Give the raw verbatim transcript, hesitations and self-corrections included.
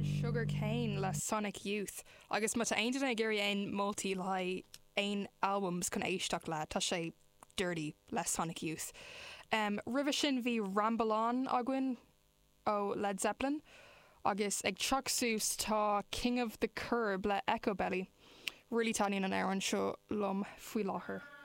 Sugar Kane le Sonic Youth agus má tá aon duine ag iarraidh aon moltaí le haghaidh aon albums chun éisteacht le tá sé Dirty le Sonic Youth. Um, Roimhe sin bhí Ramble On againn ó Led Zeppelin agus ag teacht suas tá King of the Curb le Echobelly. Really taitníonn an amhrán seo liom faoi láthair.